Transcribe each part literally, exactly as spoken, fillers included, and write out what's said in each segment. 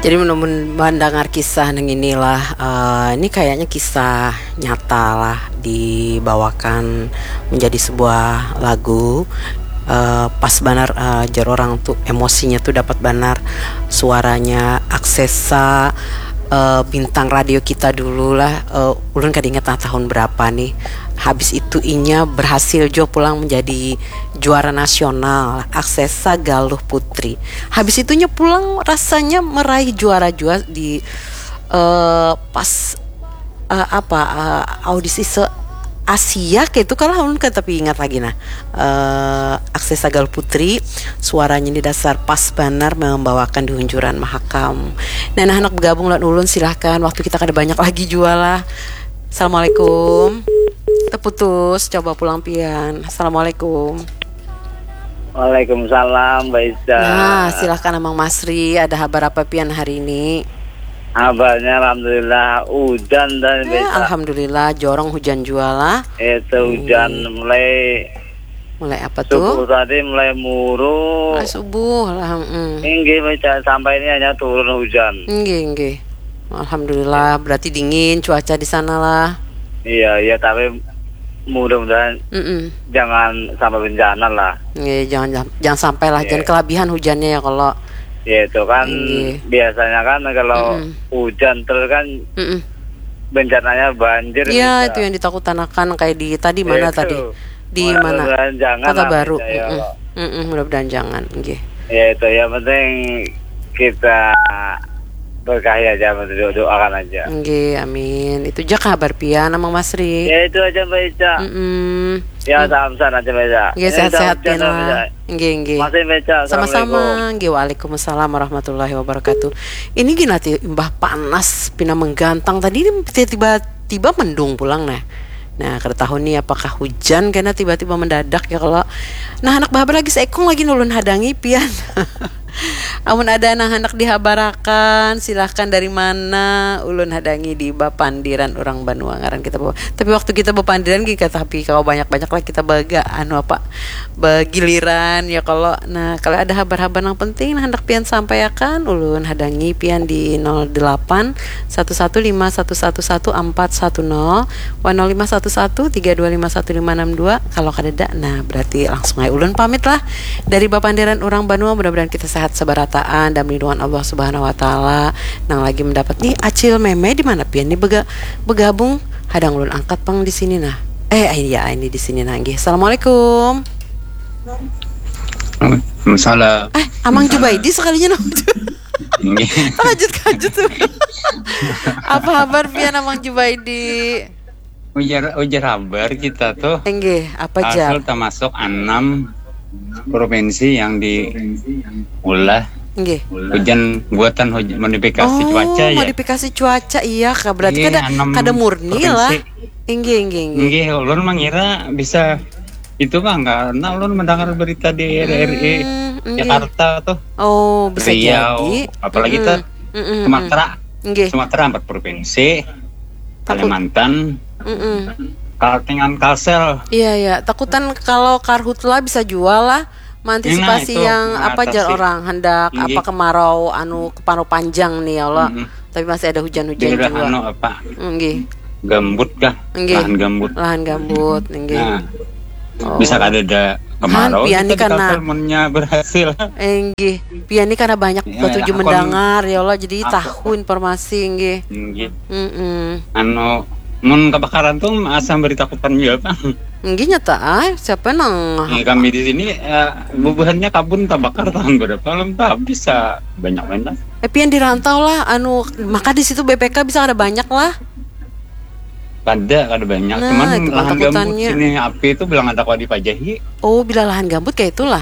Jadi menurut mendengar kisah nang inilah, uh, ini kayaknya kisah nyata lah dibawakan menjadi sebuah lagu. Uh, pas banar, uh, jar orang tu emosinya tu dapat banar, suaranya Aksesa, uh, bintang radio kita dulu lah. Uh, ulun kada ingat lah tahun berapa nih. Habis itu inya berhasil jua pulang menjadi juara nasional, Aksesa Galuh Putri. Habis itunya pulang rasanya meraih juara jua di, eh, pas, eh, apa, eh, audisi se Asia kayak itu kalah, ulun kada tapi ingat lagi. Nah, eh, Aksesa Galuh Putri, suaranya di dasar pas banar membawakan di hunjuran Mahakam. Nah, nah, anak bergabung lawan ulun, silahkan, waktu kita kada banyak lagi jua lah. Assalamualaikum. Terputus, coba pulang pian. Assalamualaikum. Waalaikumsalam, Mbak Ica. Nah, silahkan Amang Masri, ada habar apa pian hari ini? Habarnya alhamdulillah hujan dan eh, Mbak Ica. Alhamdulillah, jorong hujan jua lah. Itu hujan hmm. mulai mulai apa subuh tuh? Subuh tadi mulai muruk. Mulai subuh lah, mm. Inggih, Mbak Ica, sampai ini hanya turun hujan. Inggih, inggih. Alhamdulillah, berarti dingin cuaca di sana lah. Iya, iya, tapi mudah-mudahan mm -mm. jangan sampai bencana lah. Iya, jangan jangan sampai lah, yeah. Jangan kelabihan hujannya ya kalau. Ya itu kan yeah. Biasanya kan kalau mm -mm. Hujan terus kan mm -mm. Bencananya banjir. Iya, itu yang ditakutanakan kayak di tadi mana itu. Tadi? Di mana? Kota Baru. Ya, mm -mm. Mm -mm, mudah-mudahan jangan, nggih. Ya itu yang penting kita berkahi aja, doakan aja. Nggih, amin. Itu aja kabar pian, Amang Masri. Ya itu aja, Mbak Ica. Mm -mm. Ya, salam sehat aja, Mbak Ica. Nggih, sehat-sehat pian lah. Nggih, nggih. Masih, Mbak Ica. Sama-sama. Nggih, waalaikumsalam warahmatullahi wabarakatuh. Ini gini nanti imbah panas pina menggantang tadi ini tiba-tiba mendung pulang nah. Nah, kada tahu nih apakah hujan karena tiba-tiba mendadak ya kalau. Nah, anak bahabar lagi seekong lagi nulun hadangi pian. Amun ada nang handak dihabarakan, silahkan dari mana ulun hadangi di bapandiran urang banua ngaran kita bawa. Tapi waktu kita bapandiran gini kata tapi kalau banyak-banyak lah kita baga anu apa bagiliran ya kalau. Nah, kalau ada habar-habar yang penting nah handak pian sampaikan ulun hadangi pian di nol delapan satu satu lima satu satu satu empat satu nol wan nol lima satu satu tiga dua lima satu lima enam dua. Kalau kadada nah berarti langsung aja ulun pamit lah. Dari bapandiran urang banua, mudah-mudahan kita sehat sebarataan dan melindungan Allah Subhanahu wa taala. Nang lagi mendapat nih Acil Meme di mana pian nih bega, bergabung? Hadang ulun angkat pang di sini nah. Eh iya ini di sini nah nggih. Assalamualaikum. Waalaikumsalam. Eh Amang Jubaidi sekalinya nama. Terkajut-kajut tuh. Apa habar pian Amang Jubaidi? Ujar ujar habar kita tuh. Enggih, apa jam? Asal termasuk enam provinsi yang diulah Enggih. Hujan buatan hujan modifikasi oh, cuaca ya. Modifikasi cuaca iya kak berarti iya, kada kada murni provinsi. Lah. Enggih enggih enggih. Enggih, ulun mengira bisa itu bang karena ulun mendengar berita di R R I hmm, Jakarta tuh. Oh, bisa Riau, jadi. Apalagi mm -mm. Tuh mm -mm. Sumatera. Nggih. Sumatera empat provinsi. Takut. Kalimantan. Mm -mm. Kaltengan Kalsel. Iya iya, takutan kalau karhutla bisa jual lah mengantisipasi nah, yang apa jar orang hendak Nggih. Apa kemarau anu kemarau panjang nih ya Allah. Mm -mm. Tapi masih ada hujan-hujan juga. Anu apa? Nggih. Gambut kah? Nggih. Lahan gambut. Lahan gambut, nggih. Nah. Oh. Bisa ada ada kemarau pian ni karena berhasil. Enggih, pian ni karena banyak ya, ketujuh mendengar ya Allah jadi aku, tahu informasi nggih. Nggih. Mm -mm. Anu mun kebakaran tuh asam beri takutan juga bang. Nggih nyata ah, siapa nang ya, kami di sini eh, bubuhannya kabun terbakar tahun berapa belum tuh bisa banyak banget. Eh pian di rantau lah anu maka di situ B P K bisa ada banyak lah. Kada, kada banyak. Nah, cuman lahan gambut sini api itu bilang ada kau dipajahi. Oh, bila lahan gambut kayak itulah.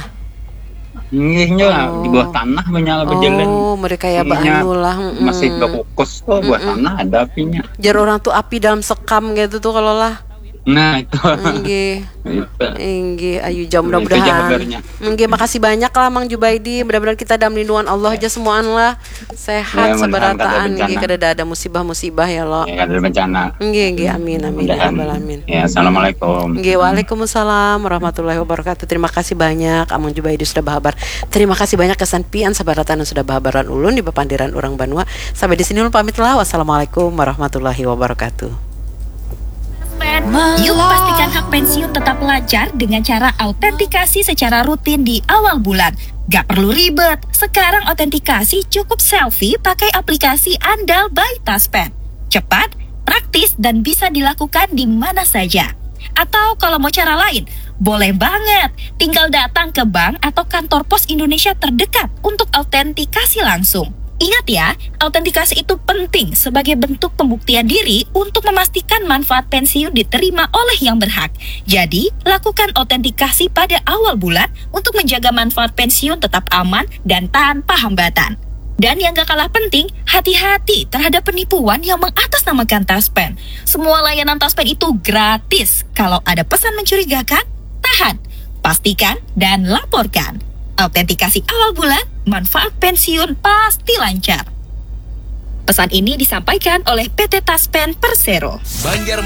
Ngihnya oh. Di bawah tanah banyak oh, berjalan. Oh, mereka ya bangun lah. Mm -mm. Masih berkukus tuh mm -mm. Bawah tanah ada apinya. Jar orang tuh api dalam sekam gitu tuh kalau lah. Nah, itu. Nggih. Itu. Inggih, ayu jam Itu aja mudah-mudahan. Kabarnya. Nggih, makasih banyak lah Mang Jubaidi. Mudah-mudahan kita dalam lindungan Allah aja semuaan lah. Sehat Ya, mudah-mudahan kada ada seberataan nggih bencana. Kada ada musibah-musibah ya lo. Ya, kada ada bencana. Nggih, nggih, amin, amin, ya Mudah-mudahan. Rabbal Alamin. Ya, assalamualaikum. Nggih, waalaikumsalam warahmatullahi wabarakatuh. Terima kasih banyak Amang Jubaidi sudah bahabar. Terima kasih banyak kesan pian sabarataan yang sudah bahabaran ulun di papandiran urang banua. Sampai di sini ulun pamit lah. Wassalamualaikum warahmatullahi wabarakatuh. Yuk pastikan hak pensiun tetap lancar dengan cara autentikasi secara rutin di awal bulan. Gak perlu ribet, sekarang autentikasi cukup selfie pakai aplikasi andal by Taspen. Cepat, praktis, dan bisa dilakukan di mana saja. Atau kalau mau cara lain, boleh banget. Tinggal datang ke bank atau kantor pos Indonesia terdekat untuk autentikasi langsung. Ingat ya, autentikasi itu penting sebagai bentuk pembuktian diri untuk memastikan manfaat pensiun diterima oleh yang berhak. Jadi, lakukan autentikasi pada awal bulan untuk menjaga manfaat pensiun tetap aman dan tanpa hambatan. Dan yang gak kalah penting, hati-hati terhadap penipuan yang mengatasnamakan Taspen. Semua layanan Taspen itu gratis. Kalau ada pesan mencurigakan, tahan, pastikan, dan laporkan. Autentikasi awal bulan, manfaat pensiun pasti lancar. Pesan ini disampaikan oleh P T Taspen Persero. Banjarmasin